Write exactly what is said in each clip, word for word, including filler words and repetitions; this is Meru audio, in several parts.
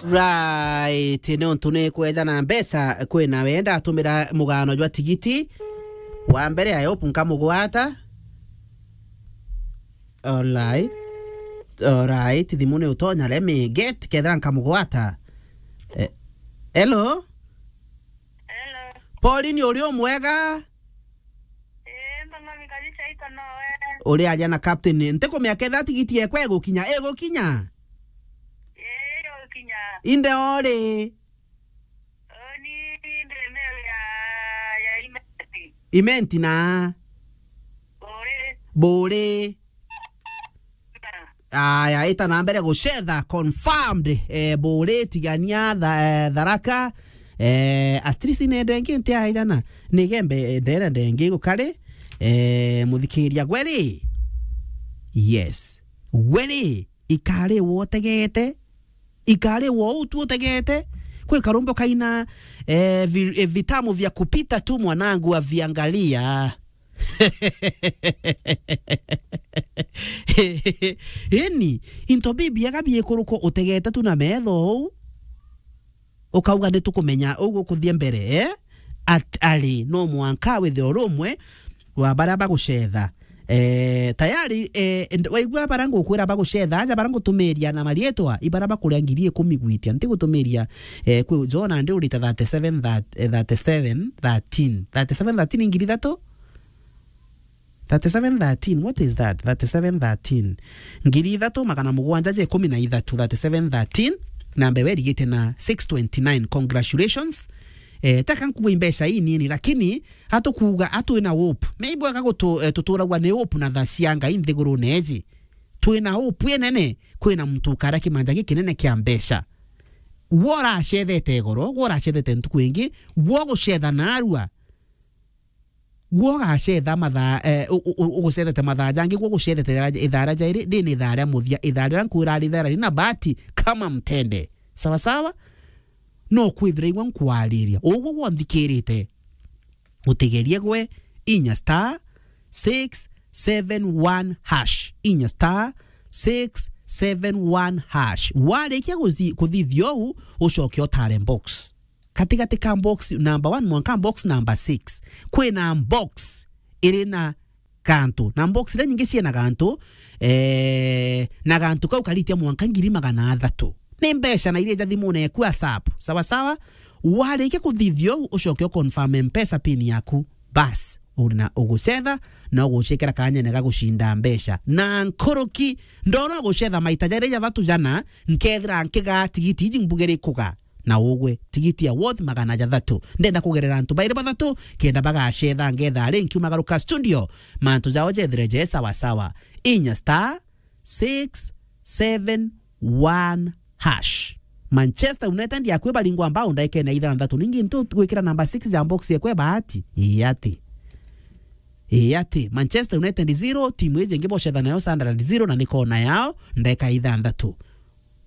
Right, ni untu ni kweja na mbeca, kwina wenda atumira mugano jwa tigiti. Wa mbere, I hope nkamugwata. Alright. Alright, thimu ni utonya, let me get, kethira nkamugwata. Eh, hello? Hello. Pauline, uri umwega? Ii, mba mami kabisa, iko nowe. Uri aria na captain. Ntikumenya ketha tigiti yekwa igukinya. Igukinya? Ii, igukinya. Inde ori? Oni ndi mail ya, ya Imenti. Imenti na? Buri. Buri. Aya, ita na mbere gucetha, confirmed. Eh, Buri, Tigania, Tha-, eh, Tharaka. Eh, at least nenda ingi nti aigana. Nigembe, eh, ndera ndengi gukari. Eh, muthikiria gweri. Yes. Gweri, ikari wotegete. Ikari wo utu utegete. Kwi karumbo kaina, eh, vi-, eh, vitamu vya kupita tu mwanangu aviangalia. Ini, into bibiaga biikuruko utegete tu na metho uu. Ukauga, "Nitukumenya uu gukuthie mbere, eh?" At-, ari, no mwanka withe uri umwe wa baria bagucetha. Eh, tayari, eh, nd-, waigua baria ngukwira bagucetha, aja baria ngutumiria na marietwa, i baria bakuria ngiri ikumi gwitia. Ntigutumiria, eh, kwi Jona ndi urita thirty-seven, that, eh, thirty-seven thirteen. Thirty-seven thirteen ngiri ithatu? Thirty-seven thirteen, what is that? Thirty-seven thirteen. Ngiri ithatu magana mugwanja ja ikumi na ithatu, thirty-seven thirteen, na mbewe irigite na six twenty-nine. Congratulations. Eh, taka nkuga i mbeca inini, lakini atukuuga atwina hope. Maybe wega gutu-, eh, tuturagwa ni hope na tha cia Ngai nthigurune iji. Twina hope inene, kwina muntu ukaria kimanja gikinene kia mbeca. Gwo uracethete igoro, gwo uracethete ntuku ingi, gwo gucetha narua. Gwo ugacetha mathaa, eh, u-, u-, u-, ugucethete mathaa jangi, gwo ugucethete ra-, ithaa ria jairi, riri ni ithaa ria muthia, ithaa riria nkwira ari ithaa rina bahati kama mtende. Sawa sawa? No kwithira igwe nkwariria. Ugwo gwo nthikirite. Utigerie gwe, inya star six seven one hash. Inya star six seven one hash. Warikia guthi-, kuthithia uu, ucoke utare box. Katigati ka box number one mwanka box number six, kwina box iri na gantu, na box iria nyingi ciina gantu, eh, na gantu kau karitia mwanka ngiri magana athatu. Ni mbeca na iria ja thimune eku ASAP. Sawa sawa? Warikia kuthithia uu, ucoke u confirm M-Pesa pin yaku. Bas, uri na ugucetha, na ugucikira kanyene ga gucinda mbeca. Na nkuruki, ndona ugucetha maita jari jathatu jana, nkethira nkigaa tigiti iji mbugere ikuga. Na ugwe tigiti ya worth magana jathatu. Ndenda kugerera antu bairi bathatu, kenda bagacetha ngetha ari nkiumagaruka studio, mantu jao jethire je sawa sawa. Inya star six seven one hash. Manchester United yakwi baringwa mbao ndaikene ithanthatu. Ningi ntu gwikira namba six ya box yekwe bahati. Ii ati. Ii ati. Manchester United zero, timu iji ingi bocetha nayo Sunderland zero, na ni kona yao, ndeka ithanthatu.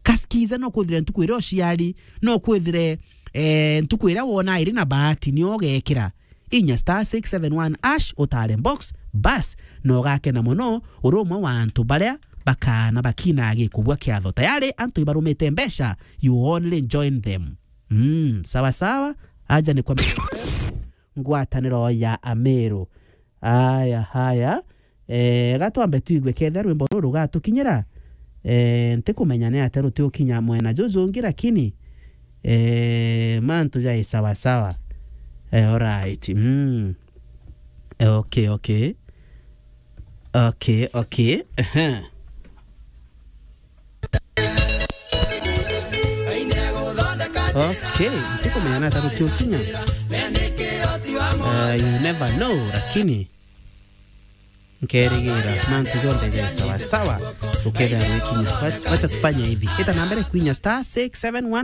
Kaskiza no kwithire ntuku iria uciari, no kwithire, eh, ntuku iria wona iri na bahati, nio ugekira. Inya star six seven one hash utare box, bas, na ugakena mono, uri umwe wa antu baria bakaana bakina gikubua kiatho. Tayari antu ibarumite mbeca, you only join them. Mm, sawa sawa, aja ni kwa ngwataniro ya Ameru. Aya, haya. Eh, gatwambe tuigue ketha rwimbo ruru rugatukinyira. Eh, ntikumenya ni atia rutiukinya mwena juju ungi, lakini, eh, mantu jai sawa sawa. Eh, alright. Mm. Eh, okay, okay. Okay, okay. Ehe. Okay, ntikumenya ni atia rutiukinya. Uh, you never know, lakini nkerigira mantu jonthe jai sawa sawa, ukethira rwikinya. Wacha, wacha tufanye hivi. Ita na mbere kwinya star six seven one.